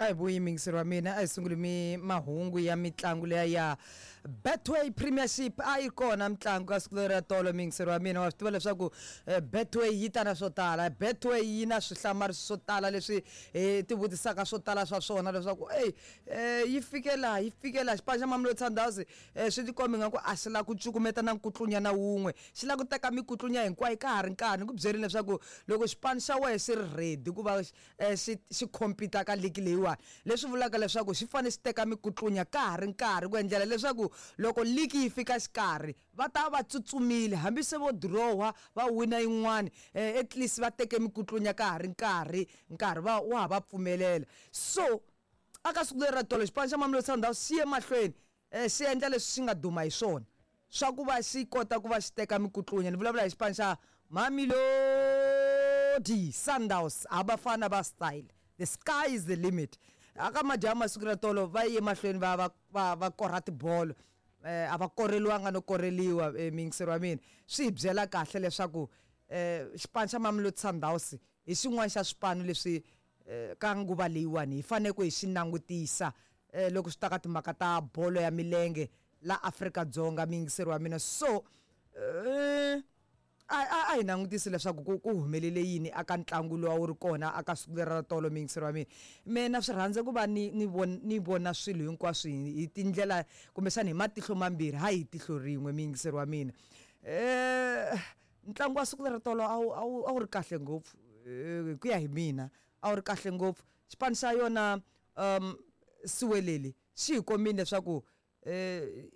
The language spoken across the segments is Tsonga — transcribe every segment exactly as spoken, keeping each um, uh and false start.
A hi vuyi muyingiseri wa mina, a hi sunguli mi mahungu ya mitlangu leya ya Betway Premiership. A yi kona mitlangu ka siku leri ra tolo, muyingiseri wa mina. Wa swi tiva leswaku eh, Betway yi ta na swo tala, Betway yi na swihlamariso swo tala leswi hi ti vutisaka swo tala swa swona leswaku ey eh, yi fikela yi fikela xipano xa Mamelodi Sundowns. eh, swi tikombi nga ku a xi lava ku cukumeta na nkutlunya na wun'we, xi lava ku teka mikutlunya hinkwayo ka ha ri nkarhi. Ni ku byerini leswaku loko xipano xa wehe xi ri ready ku va eh, xi xi compete ka league leyiwani, leswi vulaka leswaku xi fanele xi teka mikutlunya ka ha ri nkarhi ku endlela leswaku loko league yi fika xikarhi va ta va tsutsumile, hambi se vo dirowa va wina yin'wani, eh, at least va teke mikutlunya ka ha ri nkarhi, nkarhi va wa ha va pfumelela. So aka siku leri ra tolo, xipano xa Mamelodi Sundowns xi ye mahlweni eh, xi endla leswi xi nga duma hi swona swa ku va xi kota ku va xi teka mikutlunya. Ni vulavula hi xipano xa Mamelodi Sundowns, abafana ba style, the sky is the limit. Aka madyambu masiku ra tolo va ye mahlweni va va va va kora tibolo, eh, a va koreliwanga no koreliwa. eh, muyingiseri wa mina, swi hi byela kahle leswaku eh, xipano xa Mamelodi Sundowns hi xin'wana xa swipano leswi eh, ka nguva leyiwani hi fanele ku hi xi langutisa eh, loko swi ta ka timhaka ta bolo ya milenge la Afrika-Dzonga, muyingiseri wa mina. So eh, a a a hi langutisi leswaku ku ku humelele yini aka ntlangu lowu a wu ri kona aka siku leri ra tolo. Muyingiseri wa mina, mina swi rhandza ku va ni ni vona ni vona swilo hinkwaswo hi hi tindlela kumbexana hi matihlo mambirhi, hayi hi tihlo rin'we, muyingiseri wa mina. eh ntlangu wa siku leri tolo a wu a wu a wu ri kahle ngopfu, eh, hi ku ya hi mina a wu ri kahle ngopfu. Xipano xa yona um Siwelele xi hi kombile leswaku eh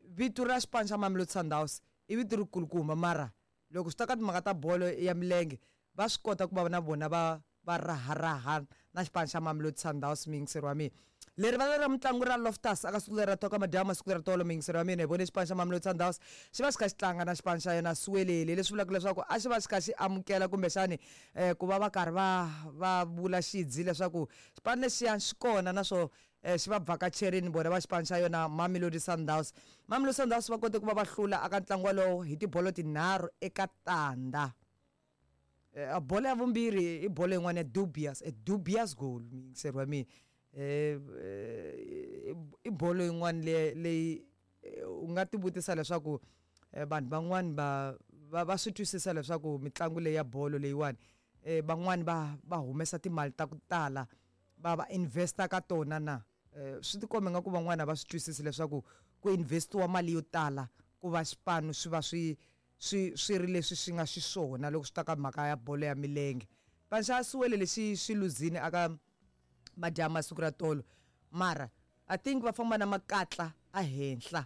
vito ra xipano xa Mamelodi Sundowns i vito ri kulukumba, mara loko swi ta ka timhaka ta bolo ya milenge va swi kota ku va na vona va va raharaha na xipano xa Mamelodi Sundowns, muyingiseri wa mina. Leri vala ra mitlangu ra Loftus aka siku leri ra toka madyambu masiku leri tolo, muyingiseri wa mina, hi vone xipano xa Mamelodi Sundowns xi va xi kha xi tlanga na xipano xa yona Siwelele, leswi vulaka leswaku a xi va xi kha xi amukela kumbexani eh, ku va va karhi va va vula xidzi leswaku xipano lexiya xi kona naswo eh, xi va vhakacherini vona va xipano xa yona Mamelodi Sundowns. Mamelodi Sundowns va kote ku va va hlula aka ntlangu walowo hi tibolo tinharhu eka tandza. Eh, a bolo ya vumbirhi i bolo yin'wana ya dubious, a dubious goal, muyingiseri wa mina. eh, eh, i bolo yin'wana leyi leyi eh, u nga ti vutisa leswaku eh, vanhu van'wani va va va swi twisisa leswaku mitlangu leyi ya bolo leyiwani eh, van'wani va va humesa timali ta ku tala va va investa ka tona na eh, swi tikomba nga ku van'wana va swi twisisi leswaku ku investiwa mali yo tala ku va xipano swi va swi swi swi ri leswi swi nga xiswona loko swi ta ka mhaka ya bolo ya milenge. Xipano xa Siwele lexi xi luzini aka madyambu masiku ra tolo, mara I think va famba na makatla a henhla,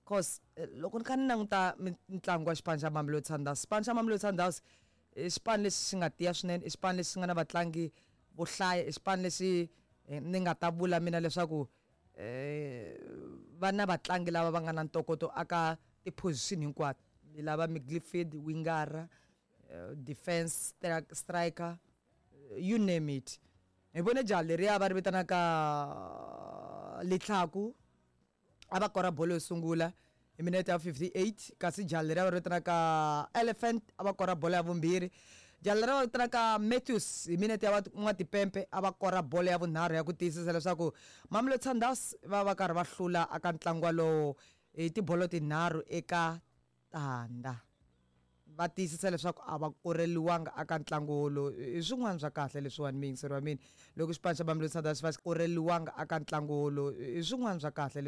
cause eh, loko ni kha ni languta mitlangu wa xipano xa Mamelodi Sundowns, xipano xa Mamelodi Sundowns i xipano lexi xi nga tiya swinene, i xipano lexi nga na vatlangi vo hlaya, i xipano lexi eh, ni nga ta vula mina leswaku eh va na vatlangi lava va nga na ntokoto aka ti-position hinkwato, ni lava midfield, wingara, eh, defense, striker, you name it. Hi vone jaha leriya va ri vitanaka Litlhaku a va kora bolo yo sungula hi minete ya fifty-eight, kasi jaha leriya va ri vitanaka Elephant a va kora bolo ya vumbirhi, jaha leriya va vitanaka Matthews hi minete ya N'watipempe a va kora bolo ya vunharhu ya ku tiyisisa leswaku Mamelodi Sundowns va va karhi va hlula aka ntlangu walowo hi tibolo tinharhu eka tandza, va tiyisisa leswaku a va koreliwanga aka ntlangu wolowo. I swin'wana swa kahle leswiwani, muyingiseri wa mina, loko xipano xa Mamelodi Sundowns va koreliwanga aka ntlangu wolowo, i swin'wana swa kahle leswi.